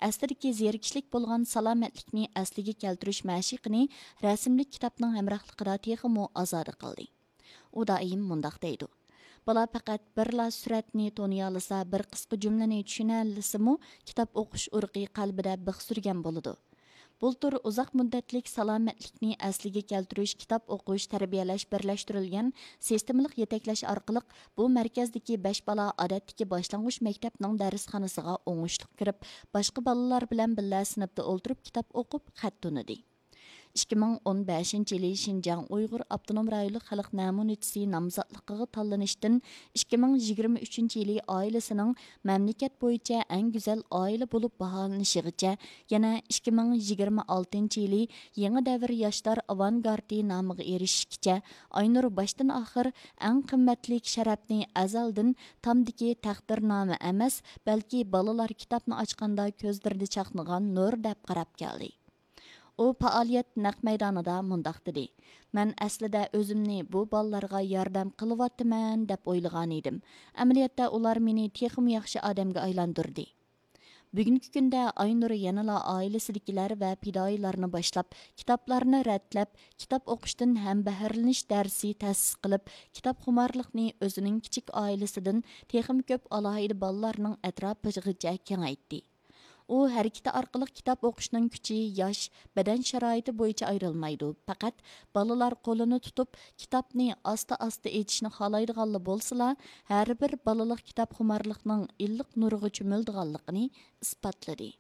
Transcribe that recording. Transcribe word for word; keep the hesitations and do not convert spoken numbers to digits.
ئەسلىدىكى زېرىكىشلىك بولغان سالامەتلىكنى ئەسلىگە كەلتۈرۈش مەشىقىنى رەسىملىك كىتابنىڭ ھەمراھلىقىدا تېخىمۇ ئازادە قىلدى. ئۇ دائىم مۇنداق دەيدۇ: «بالا پەقەت بىرلا سۈرەتنى تونۇيالىسا، بىر قىسقا جۈملىنى چۈشىنەلىسىمۇ، كىتاب ئوقۇش ئۇرۇقى قەلبىدە بىخ سۈرگەن بولىدۇ.» بۇلتۇر ئۇزاق مۇددەتلىك سالامەتلىكنى ئەسلىگە كەلتۈرۈش، كىتاب ئوقۇش، تەربىيەلەش بىرلەشتۈرۈلگەن سىستېمىلىق يېتەكلەش ئارقىلىق، بۇ مەركەزدىكى بەش بالا ئادەتتىكى باشلانغۇچ مەكتەپنىڭ دەرسخانىسىغا ئوڭۇشلۇق كىرىپ، باشقا بالىلار بىلەن بىللە سىنىپتا ئولتۇرۇپ كىتاب ئوقۇپ خەت تونۇدى. ئىككى مىڭ ئون بەشىنچى يىلى شىنجاڭ ئۇيغۇر ئاپتونوم رايونلۇق خەلق نەمۇنىچىسى نامزاتلىقىغا تاللىنىشتىن ئىككى مىڭ يىگىرمە ئۈچىنچى يىلى ئائىلىسىنىڭ مەملىكەت بويىچە ئەڭ گۈزەل ئائىلە بولۇپ باھالىنىشىغىچە، يەنە ئىككى مىڭ يىگىرمە ئالتىنچى يىلى يېڭى دەۋر ياشلار ئاۋانگارتى نامىغا ئېرىشىشكىچە، ئاينۇر باشتىن ئاخىر ئەڭ قىممەتلىك شەرەپنى ئەزەلدىن تامدىكى تەقدىرنامە ئەمەس، بەلكى بالىلار كىتابنى ئاچقاندا كۆزلىرىدە چاقنىغان نۇر دەپ قاراپ كەلدى. ئۇ پائالىيەت نەق مەيدانىدا مۇنداق دېدى: «مەن ئەسلىدە ئۆزۈمنى بۇ بالىلارغا ياردەم قىلىۋاتىمەن دەپ ئويلىغانىدىم. ئەمەلىيەتتە ئۇلار مېنى تېخىمۇ ياخشى ئادەمگە ئايلاندۇردى.» بۈگۈنكى كۈندە ئاينۇر يەنىلا ئائىلىسىدىكىلەر ۋە پىدائىيلارنى باشلاپ، كىتابلارنى رەتلەپ، كىتاب ئوقۇشتىن ھەمبەھىرلىنىش دەرسى تەسىس قىلىپ، كىتابخۇمارلىقنى ئۆزىنىڭ كىچىك ئائىلىسىدىن تېخىمۇ كۆپ ئالاھىدە بالىلارنىڭ ئەتراپىغىچە كېڭەيتتى. ئۇ ھەرىكىتى ئارقىلىق كىتاب ئوقۇشنىڭ كۈچى ياش، بەدەن شارائىتى بويىچە ئايرىلمايدۇ، پەقەت بالىلار قولىنى تۇتۇپ، كىتابنى ئاستا-ئاستا ئېچىشنى خالايدىغانلا بولسىلا، ھەر بىر بالىلىق كىتابخۇمارلىقنىڭ ئىللىق نۇرىغا چۆمۈلىدىغانلىقىنى ئىسپاتلىدى.